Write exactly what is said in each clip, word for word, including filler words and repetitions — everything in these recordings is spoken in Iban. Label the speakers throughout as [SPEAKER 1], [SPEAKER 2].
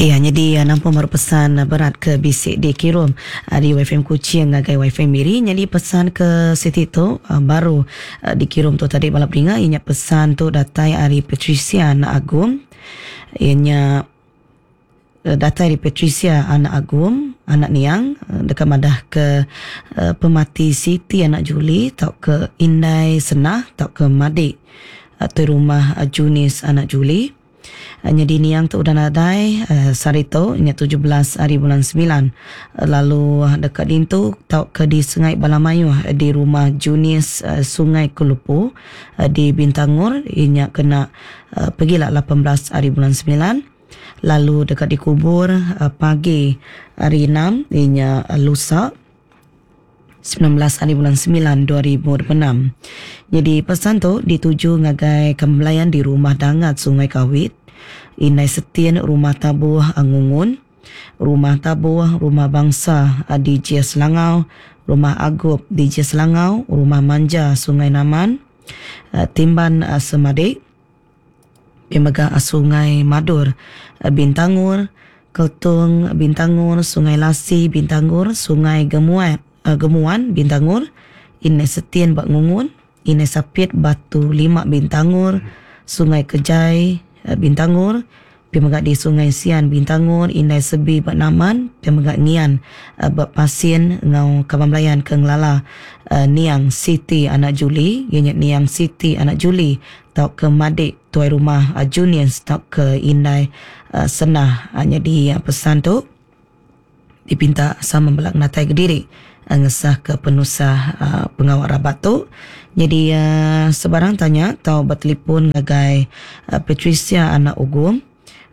[SPEAKER 1] Iya, nyadi nampung baru pesan berat ke bisi dikirum ari Waifm Kuching ngagai Waifm Miri. Nyadi pesan ke siti tu baru dikirum tu tadi bala peninga, iya nya pesan tu datai ari Patricia Anak Agum. Iya nya datai ari Patricia Anak Agum, anak niang deka madah ke pemati Siti Anak Juli tauka Indai Senah tauka Madik tuai rumah Junis Anak Juli. Nyadi niang tu udah nadai sehari tu nya tujuh belas hari bulan semilan lalu deka dintu tauka disengai bala mayuh di rumah Junis Sungai Kelupu di Bintangor iya nya kena pegila lapan belas hari bulan semilan lalu deka dikubur pagi hari enam iya nya lusa semilan belas hari bulan semilan dua ribu dua puluh enam. Nyadi pesan tu dituju ngagai kembelayan di Rumah Dangat Sungai Kawit, Indai Setin Rumah Tabuh Ngungun, Rumah Tabuh Rumah Bangsa di J Selangau, Rumah Agup di J Selangau, Rumah Manja Sungai Naman, Timban Semadik, pia mega Sungai Madur Bintangor, Keltung Bintangor, Sungai Lasi Bintangor, Sungai Gemuan Gemuan Bintangor, Indai Setin ba Ngungun, Indai Sapit Batu Lima Bintangor, Sungai Kejai Bintangor, pia mega di Sungai Sian Bintangor, Indai Sebi ba Naman, pia mega Ngian ba Pasin enggau kaban belayan ke ngelala niang Siti Anak Juli, iya nya niang Siti Anak Juli tauka Madik tuai rumah Junius tauka Indai Senah. Nyadi pesan tu dipinta sama bela ngenatai kediri ngesah ke penusah pengawa rabat tu. Jadi sebarang tanya tau bertelefon ngagai Patricia Anak Ugum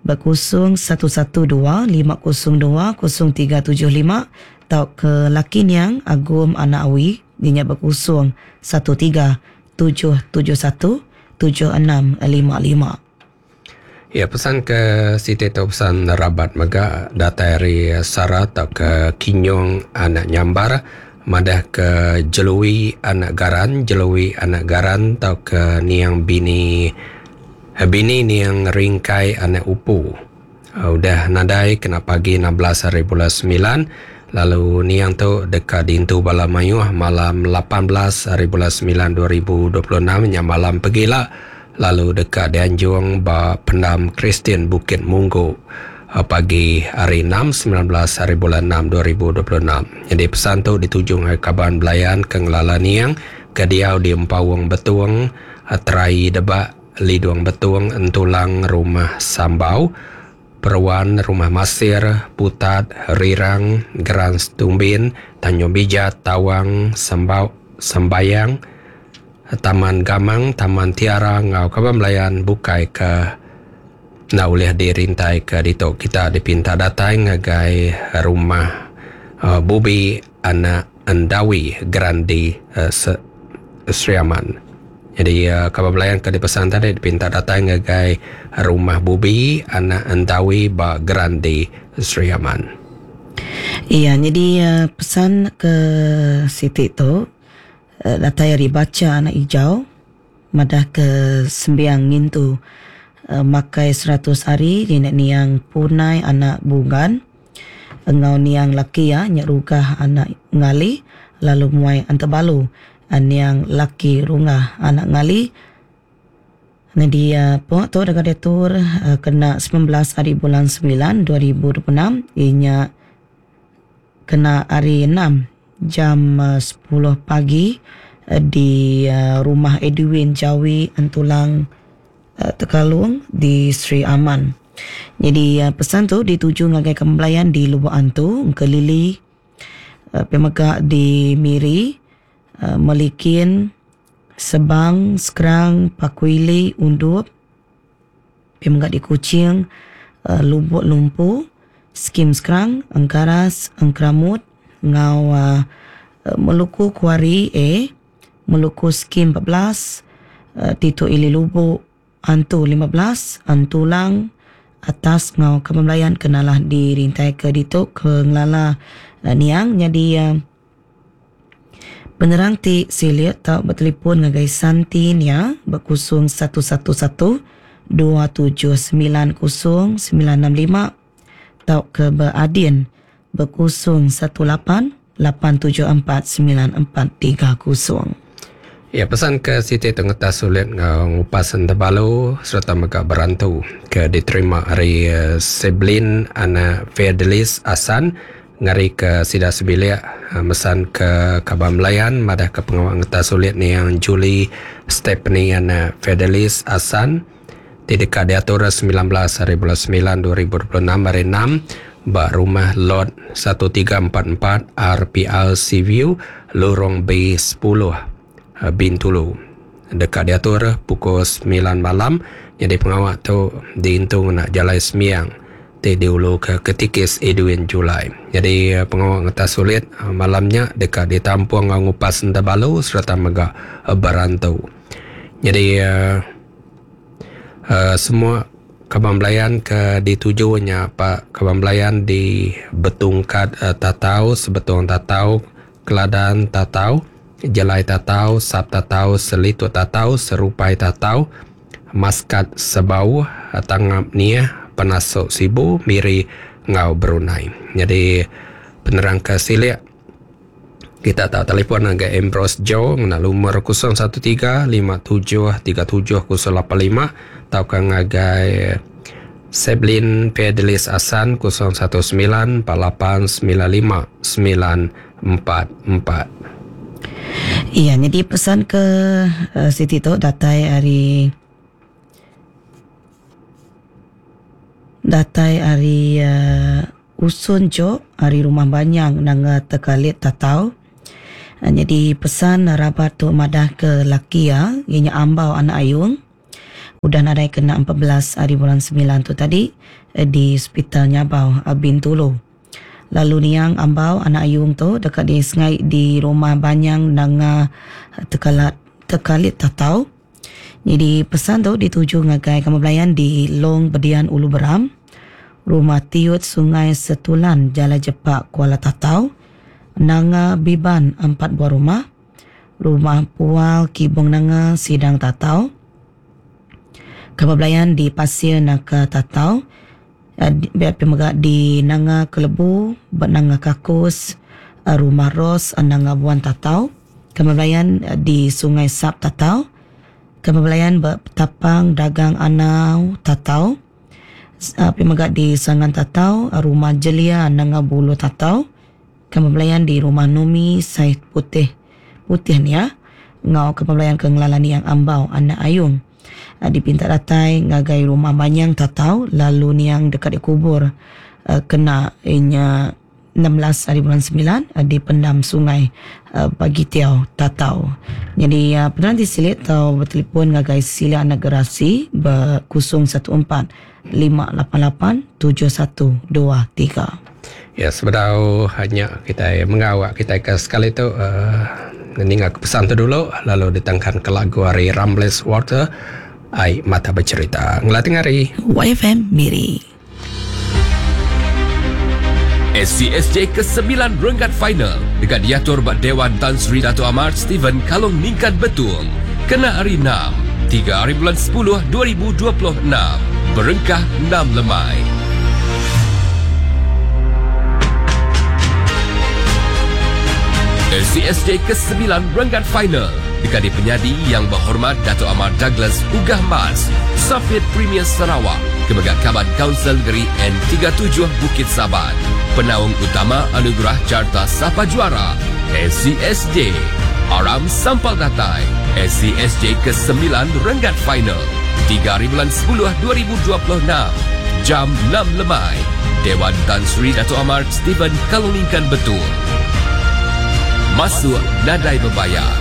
[SPEAKER 1] berkosong satu satu dua lima kosong dua kosong tiga tujuh lima tau ke laki niang Agum Anak Awi dinya berkosong satu tiga tujuh tujuh satu tujuh enam lima lima.
[SPEAKER 2] Ya, pesan ke siti tu pesan rabat mega datai ari Sara atau ke Kinyong Anak Nyambar, madah ke Jelui Anak Garan, Jelui Anak Garan atau ke niang bini bini niang Ringkai Anak Upu. Udah nadai kena pagi enam belas hari bulan sembilan, lalu niang tu deka dintu bala mayuh malam lapan belas hari bulan sembilan dua ribu dua puluh enam nya malam pegila, lalu deka dianjung ba pendam Kristian Bukit Munggu pagi hari enam sembilan belas hari bulan enam dua ribu dua puluh enam. Jadi pesan tu dituju ngagai kaban belayan ke ngelala niang ke diau di Empawung Betung, Terai Debak, Lidung Betung, Entulang Rumah Sambau, Peruan Rumah Masir, Putat, Rirang, Geran Setumbin, Tanjung Bijat, Tawang, Sembau, Sembayang, Taman Gamang, Taman Tiara, ngau kaban belayan bukai ke nak boleh dirintai ke ditu. Kita dipinta datai ngagai rumah uh, Bubi Anak Endawi Grandi uh, Sri Aman. Jadi uh, kaban belayan ke dipesan tadi dipinta datai ngagai rumah Bubi Anak Endawi ba Grandi Sri Aman.
[SPEAKER 1] Iya, jadi uh, pesan ke siti tu datai ari baca anak hijau madah ke sembiang ngintu uh, makai seratus hari nenek niang Punai Anak Bungan engau niang laki ya nyerugah anak ngali lalu muai antebalu niang laki rungah anak ngali. Jadi uh, puak tu dekat diatur uh, kena sembilan belas hari bulan sembilan dua ribu dua puluh enam inya kena hari enam jam uh, sepuluh pagi uh, di uh, rumah Edwin Jawi Entulang uh, Tekalung di Sri Aman. Jadi uh, pesan tu dituju ngagai kembelayan di Lubuk Antu, Engkelili, uh, pemega di Miri, uh, Melikin, Sebang, Skrang, Pakuili, Undup, pemega di Kuching, uh, Lubuk Lumpu, Skim Skrang, Engkaras, Engkramut, ngau uh, Meluku Kuari A, Meluku Skim empat belas, uh, Tito Ili Lubuk, Antu lima belas, Antulang, atas ngau kebelayan kenalah dirintai ke ditu ke ngelala uh, niang. Jadi uh, penerang ti silik tau bertelefon ngagai Santi nia berkusung satu satu satu dua tujuh sembilan kosong sembilan enam lima Tau ke beadin berkosong satu lapan lapan tujuh empat sembilan empat tiga kosong.
[SPEAKER 2] Ya, pesan ke Siti Tengeta Sulit ngupas Tebalu serta mega berantu ke diterima hari uh, Seblin anak Fedelis Asan ngari ke Sida Sebilik uh, mesan ke Kaban Melayan madah ke pengawal ngeta sulit ni yang Julie Stephanie anak Fedelis Asan di dekat diatur sembilan belas hari bulan sembilan dua ribu dua puluh enam hari enam ba rumah lot satu tiga empat empat R P L Seaview Lorong B sepuluh Bintulu. Dekat diatur pukul sembilan malam. Jadi pengawal tu diintung nak jalan semiang ti diulu ke ketikis Edwin Julai. Jadi pengawal ngeta sulit malamnya dekat ditampung ngupas Tebalu serta mega berantu. Jadi uh, uh, semua Kaban Belayan ke ditujunya Pak Kaban Belayan di Betungkat uh, Tatau, Sebetung Tatau, Keladan Tatau, Jelai Tatau, Sap Tatau, Selitut Tatau, Serupai Tatau, Maskat Sebau, Tangap Niah, Penasuk Sibu, Miri, Ngau Brunei. Jadi penerang ke silik kita tak telefon agak Ambrose Joe ngena nomor kosong satu tiga lima tujuh tiga tujuh kosong lapan lima atau kan ngagai Seblin Fedelis Asan kosong satu sembilan empat lapan sembilan lima sembilan empat empat.
[SPEAKER 1] Iya, jadi pesan ke uh, Siti tu datai hari datai hari uh, Usun Jo hari rumah Banyang nanga tekalit tatau. Uh, jadi pesan rabat tu madah ke laki ya, ianya ambau anak ayung. Udah nadai kena empat belas hari bulan sembilan tu tadi eh, di Hospital Nyabau Bintulu. Lalu niang ambau anak ayung tu dekat di sengai di rumah Banyang nanga tekalat tekalit tatau. Jadi pesan tu dituju ngagai kamu belayan di Long Bedian Ulu Beram, Rumah Tiut Sungai Setulan Jala Jepak Kuala Tatau, Nanga Biban empat buah rumah, Rumah Pual Kibong Nanga Sidang Tatau, kamu belayan di Pasir Naka Tatau, biar pemegak di Nanga Kelebu, Nanga Kakus, Rumah Ros, Nanga Buan Tatau, kemebelayan di Sungai Sap Tatau, kemebelayan Tapang Dagang Anau Tatau, pemegak di Sangan Tatau, Rumah Jelia Nanga Bulu Tatau, kemebelayan di Rumah Numi Said Putih Putih ni ya, ngau kemebelayan ke Ngelalani yang Ambau Anak Ayung. Dipinta datai ngagai rumah Banyang Tatau lalu niang dekat dikubur uh, kena inya enam belas hari bulan sembilan uh, di pendam sungai uh, Pagi Tiau Tatau. Jadi uh, penerang disilit atau bertelefon ngagai Sila Nagerasi ber kosong satu empat lima lapan lapan tujuh satu dua tiga.
[SPEAKER 2] Ya, sebenarnya hanya kita mengawak kita ke sekali tu uh, ninga pesan tu dulu lalu ditangkan ke lagu hari Rambles Water Ai Mata Bercerita. Ngelating hari
[SPEAKER 1] Y F M Miri.
[SPEAKER 3] S C S J kesembilan renggat final dekat diatur bak Dewan Tan Sri Dato' Amar Stephen Kalong Ningkan Betung. Kena hari enam, tiga hari bulan sepuluh dua ribu dua puluh enam. Berengkah enam lemai. S C S J kesembilan renggat final dekat di penyadi yang berhormat Dato' Amar Douglas Uggah Mas, Safid Premier Sarawak, Kemegat Kaban Kaunsil Negeri N tiga puluh tujuh Bukit Saban. Penaung utama Anugerah Carta Sapa Juara S C S J. Aram Sampal Datai S C S J kesembilan renggat final tiga hari bulan sepuluh dua ribu dua puluh enam jam enam lemai. Dewan Tan Sri Dato' Amar Stephen Kaluningkan Betul. Masuk nadai berbayar.